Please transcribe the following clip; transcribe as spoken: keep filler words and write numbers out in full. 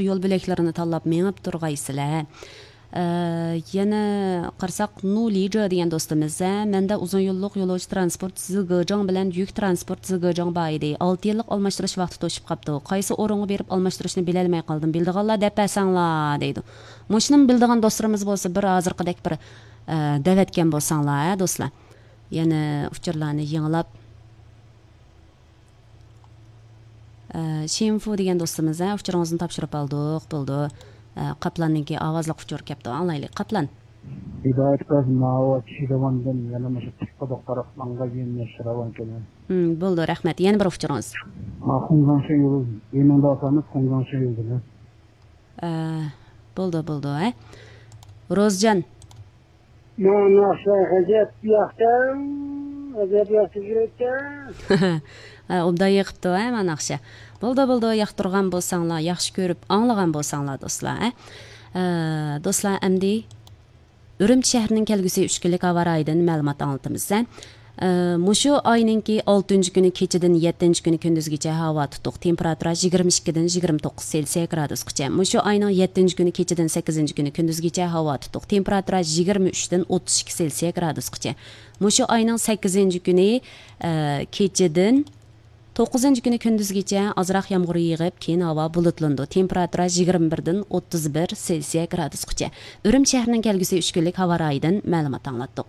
يول بۆلەكلىرىنى تاللاپ مېڭىپ تۇرغايسىلەر. ئە، يەنە قارىساق، نۇ لىجې دېگەن دوستىمىز، ھە، مەندە ئۇزۇن يوللۇق يولۇچى ترانسپورت زىگېجاڭ بىلەن يۈك ترانسپورت زىگېجاڭ بار ئىدى. ئالتە يىللىق ئالماشتۇرۇش ۋاقتى توشۇپ قاپتۇ. قايسى ئورۇنغا بېرىپ ئالماشتۇرۇشنى بىلەلمەي قالدىم. بىلىدىغانلار دەپ بەرسەڭلار، دەيدۇ. مۇشۇنىمۇ بىلىدىغان دوستلىرىمىز بولسا، بىر ھازىرقىدەك بىر، ئە، دەۋەتكەن بولساڭلار، ھە، دوستلار. يەنە ئۇچۇرلارنى يېڭىلاپ، ئە، شىنفۇ دېگەن دوستىمىز، ھە، ئۇچۇرىڭىزنى تاپشۇرۇپ ئالدۇق، بولدى. ئە، قاپلاننىڭكى ئاۋازلىق ئۇچۇرى كەپتۇ، ئاڭلايلى. قاپلان. ھىدايەت قىلىڭ، ماۋۇ چىدىغاندىن يەنە مۇشۇ تىك قۇدۇق تارىقىڭغا يېنىشتۇرۇۋالغان كېلىڭ. ھىم، بولدى، رەھمەت. يەنە بىر ئۇچۇرىڭىز. ھا، خۇڭزاڭشى يولى، يېنىڭدا ئاتامىز خۇڭزاڭشى يولىدىن. ئە، بولدى، بولدى، ھە. روزجان. مانا ناخشا غەجەپ ياقتى، غەجەپ ياخشى يۈرەتتى. ھە، ئوبدان يېقىپتۇ، ھە، مانا ناخشا. بولدى، بولدى، ياقتۇرغان بولساڭلار، ياخشى كۆرۈپ ئاڭلىغان بولساڭلار، دوستلار، ھە. ئە، دوستلار، ئەمدى ئۈرۈمچى شەھىرىنىڭ كەلگۈسى ئۈچ كۈنلۈك ھاۋا رايىدىن مەلۇمات ئاڭلىتىمىز، ھە. ئە، مۇشۇ ئاينىڭكى ئالتىنچى كۈنى كېچىدىن يەتتىنچى كۈنى كۈندۈزگىچە ھاۋا تۇتۇق، تېمپېراتۇرا يىگىرمە ئىككىدىن يىگىرمە توققۇز سېلسىيە گرادۇسقىچە. مۇشۇ ئاينىڭ يەتتىنچى كۈنى كېچىدىن سەككىزىنچى كۈنى كۈندۈزگىچە ھاۋا تۇتۇق، تېمپېراتۇرا يىگىرمە ئۈچتىن ئوتتۇز ئىككى سېلسىيە گرادۇسقىچە. مۇشۇ ئاينىڭ سەككىزىنچى كۈنى، ئە، كېچىدىن توققۇزىنچى كۈنى كۈندۈزگىچە ئازراق يامغۇر يېغىپ، كېيىن ھاۋا بۇلۇتلىنىدۇ. تېمپېراتۇرا يىگىرمە بىردىن ئوتتۇز بىر سېلسىيە گرادۇسقىچە. ئۈرۈمچى شەھىرىنىڭ كەلگۈسى ئۈچ كۈنلۈك ھاۋا رايىدىن مەلۇمات ئاڭلاتتۇق.